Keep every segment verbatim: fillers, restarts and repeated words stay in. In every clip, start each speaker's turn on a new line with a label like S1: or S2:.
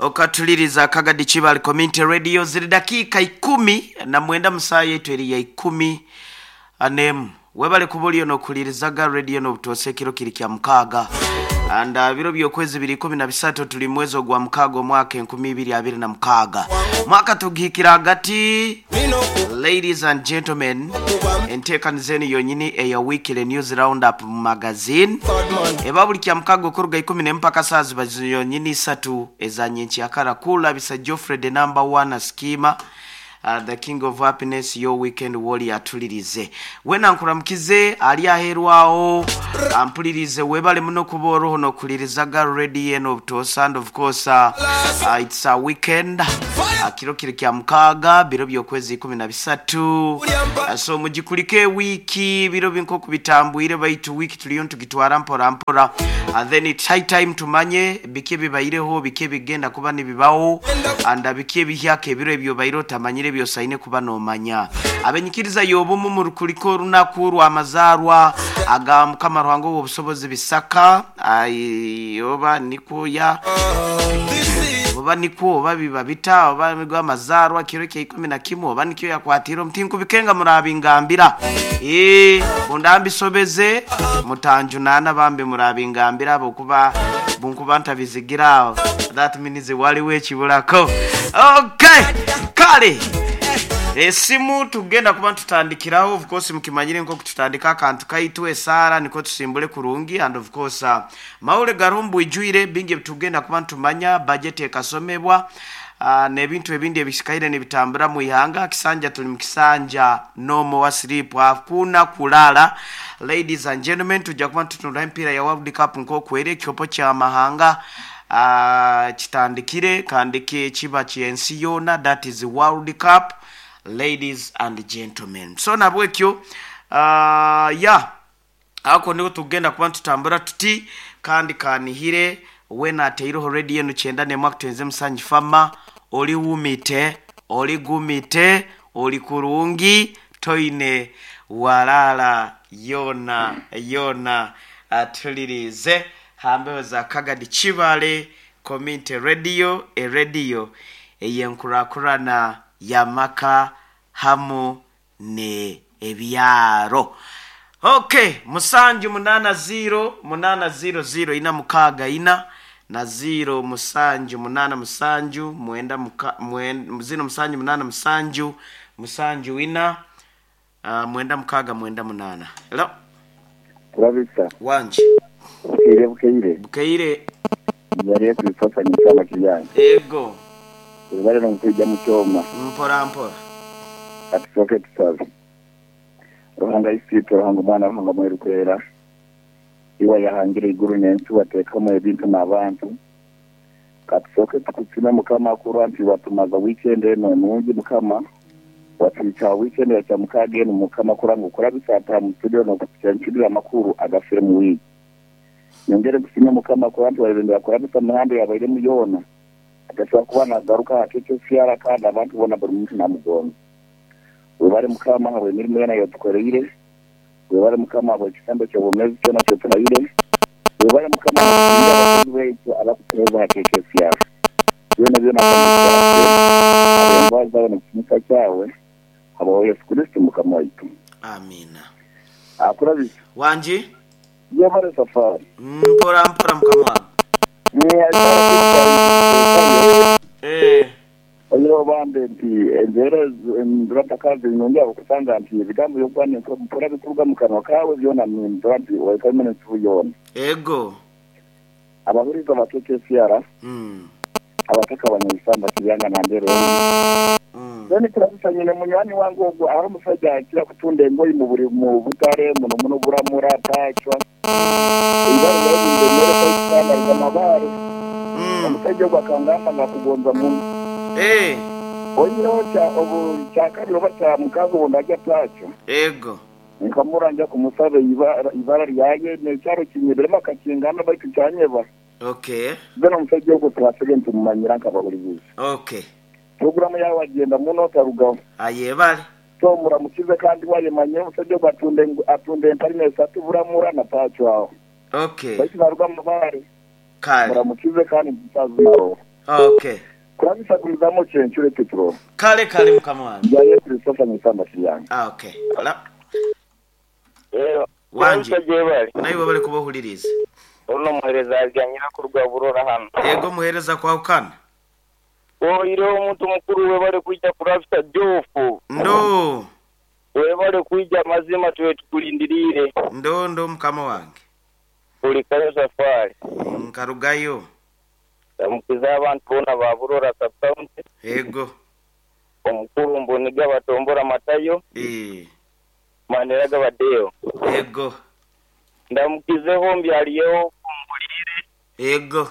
S1: Okatuliriza Kagadi Kibale Community Radio ziri dakika ikumi na mwenda musaa yetu eri ya ikumi anemu. Webale kubuliyo nokulirizaga radio n'obutose ekiro kiri kya mukaaga. And uh, biro by'okwezi biri ikumi na bisatu tuli mwezi ogwa mukaaga omwaka enkumi ibiri abiri na mukaaga. Mwaka tugihikira hagati. Ladies and gentlemen, enteekaniza enu yonyini eya weekly news roundup magazine eba buli kya mukaaga okuruga ikumi n'emu mpaka saa ziba yonyini isatu eza nyenkyakara. Kulabisa Geoffrey the number one schema, Uh, the king of happiness, your weekend warrior atulirize. Wena nkuramukize ali aherwawo ampulirize webale muno kuba oroho nokulirizaga radio eno obutosa. And of course uh, uh, it's a weekend, uh, kiro kiri kya mukaaga biro by'okwezi ikumi na bisatu. Uh, so mugikulike wiki biro binkoku bitambwire baitu wiki tuliyo ntugitwara mpora mpora, and then it's high time tumanye biki bibaireho biki bigenda kuba nibibaho and biki bihyaka ebiro ebyo bairo otamanyire byosaine kuba nomanya. Abenyikiriza yobumu mu rukuliko orunaku rw'amazaarwa aga Mukama Ruhanga w'obusobozi bisaka oba nikuya oba nikwo oba biba bita oba rw'amazaarwa kiro kya ikumi na kimwe oba nikyo yakwatira omuti nkubikenga murabingambira ee bundambisobeze mutanjunana bambi murabingambira abo kuba bunkuba ntabizigira that means waliwo ekibulako. Okay, kale esimu tugenda kuba tutandikiraho. Of course mukimanyire nko kututandika akantu kaitu esara niko tusimbule kurungi. And of course uh, maule garumbu ijuire bingi tugenda kuba tumanya budget ekasomebwa uh, n'ebintu ebindi ebisikaire nibitambura mu ihanga. Kisanja tuli mu kisanja nomo wa sleep hakuna kulala. Ladies and gentlemen, tujja kuba tutunula empira ya World Cup nko kwere ekikopo kya mahanga uh, kitandikire kandi kiba kyensi yona, that is World Cup, ladies and gentlemen. So nabwekyo uh, ya ako niho tugenda kuba tutambura tuti kandi kanihire wena ateiroho radio enu kyenda nemwe akutenze musanyi fama oli wumite oli gumite oli kurungi toine walala yona yona atulirize hambeho za Kagadi Kibale Community Radio, e radio eyenkurakurana yamaka hamu ne ebyaro. Okay, musanju munana zero munana zero zero ina mukaga ina na zero musanju munana musanju mwenda muka, mwenda, zero musanju munana musanju musanju ina uh, mwenda mukaga mwenda munana. Hello.
S2: Turabisa.
S1: Wanje.
S2: Bukeire bukeire.
S1: Bukeire.
S2: Yari kuifasa ni kama kijana.
S1: Ego.
S2: Bale no mu kyoma.
S1: Mpora mpora.
S2: Atusoke tusabe. Ruhanga isitu Ruhanga mwana Ruhanga mweru kwera. Iwa yahangire iguru n'ensi wateekamu ebintu n'abantu. Katusoke tukutsime Mukama kurwa nti watumaza weekend eno nungi Mukama. Watwica weekend ya mukaaga eno Mukama kuranga ukora bisata mu studio no kucyanchirira amakuru agafire mu wiki. Nyongere kusimya Mukama kurwa nti walibendera kora bisa mihanda yabaire mu yona. Agashobora kuba nagaruka hakecyo fiara kandi abantu bona buri muntu namugonga. Webale Mukama hawe imirimo yona yotukoreire. Webale Mukama hawe ekisambo ky'obumezi kyona kyoturayire. Webale Mukama abakozi baitu abakutuheeza hakecyo fiara. Byona byona abembazi zawe n'ekitinisa kyawe habaho Yesu Kristo Mukama waitu.
S1: Amina.
S2: Akurabisa.
S1: Wanji?
S2: Yebale safari.
S1: Mpora mpora Mukama wange. Eh.
S2: Oyo bambe nti enzera ndratakazi nyongera okusanga nti ebigambo byokwana mpora bikuruga mu kanwa kawe byona ndra nti wakamene nsubuyona.
S1: Ego.
S2: Abahuriza bakeke fiara.
S1: Mm.
S2: Abataka abanyisamba kiyanga na mbere. Mm. None turabisa nyine munywani wangu ogwo aho musajja akira kutunda engoyi mu buri mu butare muno muno buramura tachwa. Ibara yabindemere kwitana amabare. Omusajja ogwo akangamba ngakugonza muno.
S1: Eh.
S2: Oyiroho kya obu kyakabiri oba kya mukazi obu ndajya takyo.
S1: Ego.
S2: Nkamuranja kumusabe ibara ibara ryaye nekyaro kinyebiremu akakingana baitu kyanyeba.
S1: Okay.
S2: Beno omusajja ogwo twasege ntumumanyira nkabahuriziza.
S1: Okay.
S2: Programu yawe agenda muno tarugaho.
S1: Ayebale.
S2: So muramukize kandi wayemanye omusajja ogwo atunde atunde empalina esatu buramura na takyo aho.
S1: Okay.
S2: Baitu naruga mu mabare.
S1: Kale.
S2: Muramukize kandi mutazi nabo.
S1: Okay.
S2: Kurabisa kulizamu kyencure kitro.
S1: Kale kale mukama wange.
S2: Yaye Christopher Nisamba Shiyange.
S1: Ah, okay. Hello.
S3: Rero
S1: Wanji.
S3: Jebali.
S1: Nawe bale kubohuliriza.
S3: Ono muhereza ajyanyira kurwa burora hano.
S1: Yego muhereza kwa ukana.
S3: Oiro omuntu mukuru we bale kwijja kurabisa jofu.
S1: Ndo.
S3: We bale kwijja mazima tuwe tukulindirire.
S1: Ndo ndo mukama wange.
S3: Ulikayo safari.
S1: Nkarugayo.
S3: Ndamukiza abantu bona ba burora sub-county.
S1: Yego.
S3: Omukuru mboniga batombora matayo.
S1: Eh.
S3: Manera gabadeo.
S1: Yego.
S3: Ndamukizeho mbyaliyeho kumbulire.
S1: Yego.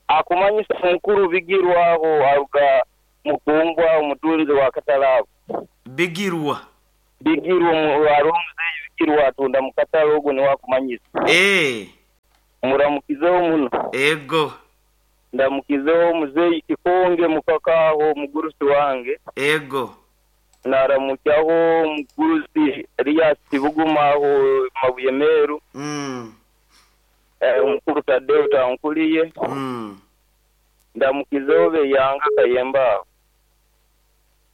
S3: Akumanyisa mukuru bigirwaho aruga mukungwa umutunzi wa katalabo.
S1: Bigirwa.
S3: Bigirwa mu bigirwa atunda mu katalogo ni wakumanyisa.
S1: Eh.
S3: Muramukizeho muno.
S1: Yego.
S3: Ndamukizeho muzeyi kikonge mukakaho mugurusi wange.
S1: Ego.
S3: Naramukyaho mugurusi Elias Bugumaho Mabuye Meru.
S1: Mm.
S3: Eh omukuru Tadeo tankuliye.
S1: Mm.
S3: Ndamukizeho beyanga kayemba.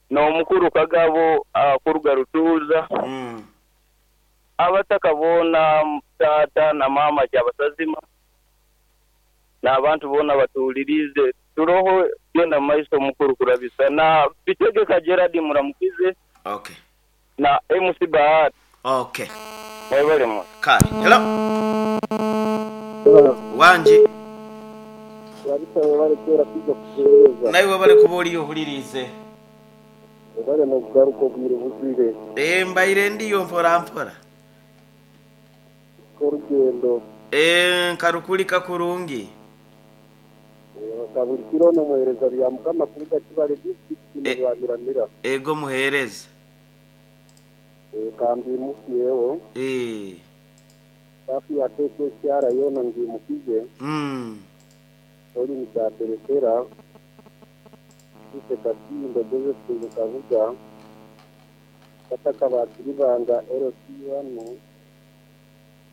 S3: No mukuru Kagabo akuruga Rutuza.
S1: Mm.
S3: Abatakabona tata na mama kyabasazima. N'abantu bona batulirize turoho genda maiso mukuru kurabisa na bitegeka Gerard muramukize.
S1: Okay.
S3: Na M C Bahati.
S1: Okay.
S3: Mwebale mu.
S1: Kale. Hello. Wanje.
S4: Kurabisa webale kera kwiga kugereza.
S1: Nawe webale kuboli yohulirize.
S4: Webale no kugaruka obwire buzire.
S1: Eh mbaire ndiyo mpora mpora.
S4: Korugendo.
S1: Eh nkarukulika kurungi.
S4: Kaburi kiro no muhereza bya mukama kuruga kibale district n'Rwamiramira.
S1: Ego muhereza.
S4: Eh kambi mukiyeho.
S1: Eh.
S4: Safi ya K K C R yona ngimukize.
S1: Mm.
S4: Oli mutaberekera. Ise katindo Joseph Kavuga. Kataka bakiribanga L C one.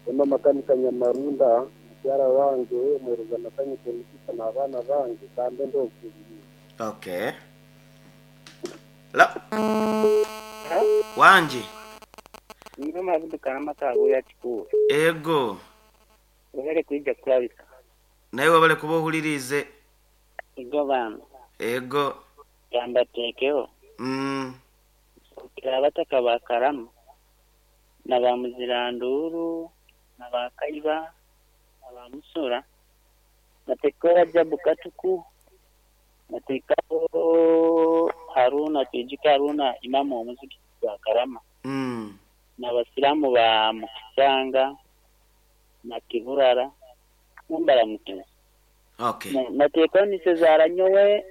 S4: Ema makanika Nyamarunda. Yara wange mwereza nakanyike nikisa na abana bange kambe ndo kubiri.
S1: Okay. La. Wanje.
S5: Nino mabudu karama kago ya chikuru.
S1: Ego.
S5: Wale kuija kurabisa.
S1: Nawe wabale kubohulirize.
S5: Ego bana.
S1: Ego.
S5: Gamba tekeo.
S1: Mm.
S5: Abataka ba Karama. Na ba Muziranduru, na ba Kaiba. Abamusura natekera Jabu Katuku natekao Haruna Tijika Haruna imamu omuziki wa Karama.
S1: Mm.
S5: Na basilamu ba Mukisanga na Kiburara mumbara mukiza.
S1: Okay.
S5: Natekao ni Cesar nyowe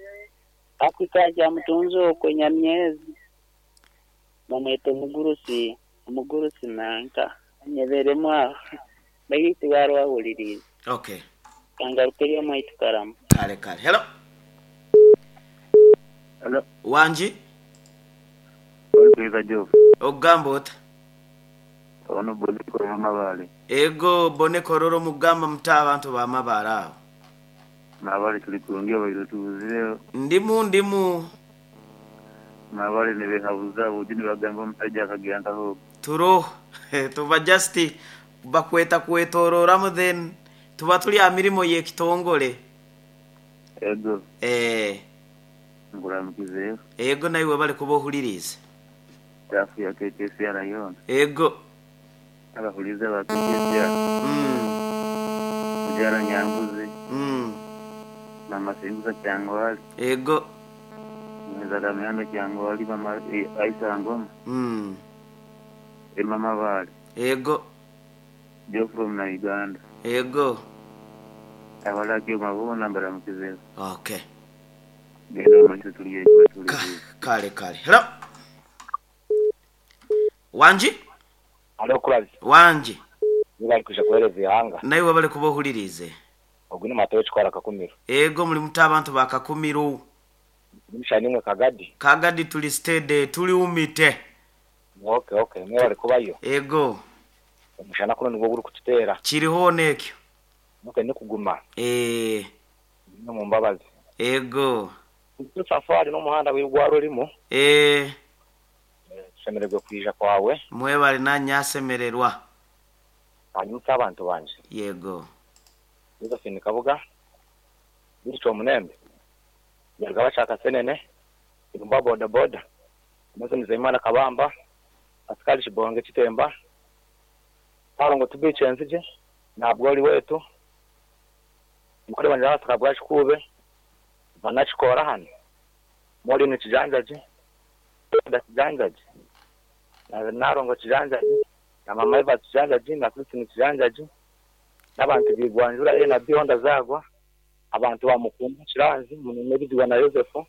S5: akikaja mutunzo kwenye myezi bamwete mugurusi mugurusi nanka nyeberemo aho. Bayiti barwa huliriza.
S1: Okay.
S5: Kangarukiriya mwitu Karama.
S1: Kale kale. Hello.
S6: Hello.
S1: Wanji.
S6: Olikuiza Jofu.
S1: Ogamba ota.
S6: Ono bone kororo mabale.
S1: Ego bone kororo mugamba muta abantu ba mabale aho.
S6: Mabale tuli kurungia bairo tuzire.
S1: Ndimu ndimu.
S6: Mabale nibehabuza bujini bagamba musajja akagenda ho.
S1: Turo tuba just bakweta kwetororamu then tuba tuli amirimo yekitongole.
S6: Ego.
S1: Eh.
S6: Nguramukize.
S1: Ego nawe bale kubohuliriza.
S6: Tafu ya K K C R yona.
S1: Ego.
S6: Abahuliza ba K K C R.
S1: Mm.
S6: Mujara Nyambuzi.
S1: Mm.
S6: Mama Singuza Kyangwali.
S1: Ego.
S6: Mweza Mihanda Kyangwali mama Aisha Ngoma.
S1: Mm.
S6: E mama bale.
S1: Ego.
S6: Joe from na Uganda.
S1: Ego.
S6: Abalaki mabona mbaramukize.
S1: Okay.
S6: Genda maiso tuliye tuliye.
S1: Kale kale. Hello. Wanji?
S7: Alo kurabi.
S1: Wanji.
S7: Nibali kuja kuhereza ihanga.
S1: Nawe bale kubohulirize.
S7: Ogwine matoyo chkwara Kakumiro.
S1: Ego muri muta abantu bakakumiro.
S7: Nimshanimwe Kagadi.
S1: Kagadi tuli stede tuli umite.
S7: Okay okay, mwe bali kubayo.
S1: Ego.
S7: Umushana kuno nibwo guri kututera.
S1: Kiriho nekyo.
S7: Nuko ni kuguma.
S1: Eh.
S7: No mumbabazi.
S1: Ego.
S7: Safari n'omuhanda gwirwa rurimu.
S1: Eh.
S7: Tushemererwe kwija kwawe.
S1: Mwebale nanyasemererwa.
S7: Hanyuma abantu banje.
S1: Yego.
S7: Josephine Kabuga. Bityo Munembe. Yarga bashaka senene. Irumba boda boda. Maze Nzeyimana Kabamba. Pascal Shibonge Kitemba. Parongo tubice nzije. Ntabwo ari wetu. Mukore banje basaka bwashikube. Banachikora hano. Mori ni kijanjaje. Da kijanjaje. Na narongo kijanjaje. Na mama Eva kijanjaje na Kristi ni kijanjaje. N'abantu bigwanjura e na Bihonda zagwa. Abantu bamukumba kiranzi munene na Yosefu.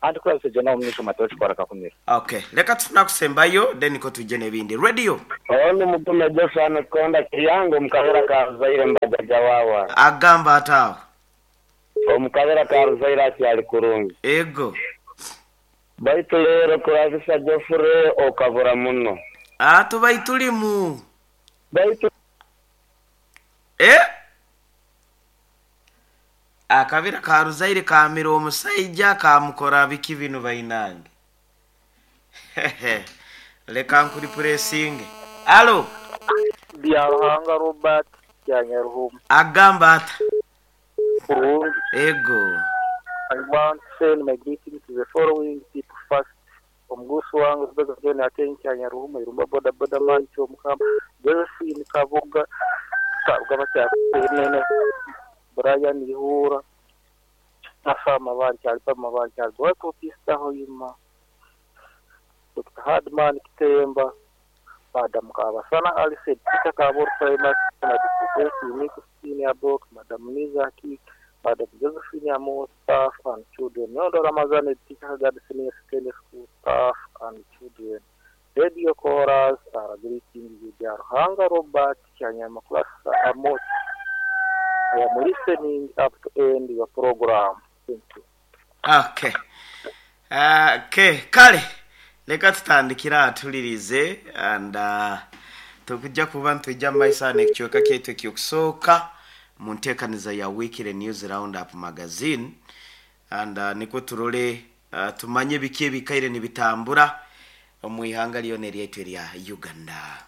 S7: Andi kula seje na umnisho matochi kwa rakakumira.
S1: Okay, leka tunakusembayo then ko tuje nebindi. Radio.
S8: Ono mutume Joshua konda kiyango mukabera ka Zaire mbajaja wawa.
S1: Agamba atawo.
S8: Omukabera ka Zaire akyali kurungi.
S1: Ego.
S8: Baitu lero kurabisa Jofure okabura muno.
S1: Ah, tubaitulimu.
S8: Baitu
S1: eh akabira ka Ruzaire kamira omusaija kamukora biki bino bainange. Leka nkuri pressing. Alo.
S4: Byaruhanga Robert Kyanyaruhuma.
S1: Agamba ata.
S4: Kurungi.
S1: Ego.
S4: I want to send my greetings to the following people first. Omugusu wangu Rebecca John Atenyi Kyanyaruhuma Irumba boda boda man Kyomukama Josephine Kabuga Kabuga Bakyakene Brian Ihura Nafa Mabanja Alba Mabanja Alberto Pista Hoima Doctor Hardman Kitemba Madam Kabasana Alice Peter Kabor Primary Madam Unique Senior Book Madam Niza Ki Madam Josephine Amo staff and children Nyondo Ramazani Teacher Guard Senior Secondary School staff and children Radio Chorus are greeting you Byaruhanga Robert Kyanyama Class Amos. I am listening up to end your program. Thank you.
S1: Okay. Uh, okay, kale. Leka tutandikira atulirize and uh, tukujja kuba ntujja maisa n'ekichweka kyaitu ekyokusooka mu nteekaniza ya Weekly News Roundup Magazine and uh, niko turole uh, tumanye biki ebikaire nibitambura omu ihanga lyona eryaitu erya Uganda.